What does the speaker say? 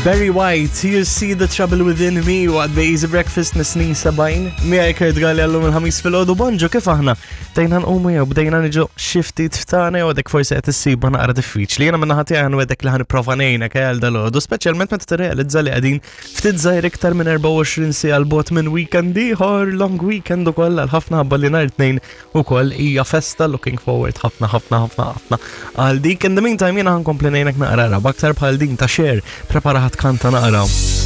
Barry White, You See the Trouble Within Me, waqt The Easy Breakfast mis-snin 70. Miegħi Kurt Galli għallum il-ħamis fil-ħodu bonġu kif aħna bdejna nqumu jew bdejna niġu xi ftit ftana jew għadek forsi qed issibha naqra diffiċli. Jiena minn naħa tiegħi ħanwedek li ħanipprova ngħinek eh, għal dal-għodu, speċjalment meta tirrealizza li qegħdin ftit żgħir iktar minn 24 siegħa 'l bogħod minn weekend ieħor, long weekend ukoll għal ħafna ħabba li nhar tnejn ukoll hija festa looking forward ħafna ħafna ħafna ħafna għal dik. In the meantime jiena ħankompli ngħinek naqra b'aktar bħal din ta' Cher prepara ħadd kanta naqra.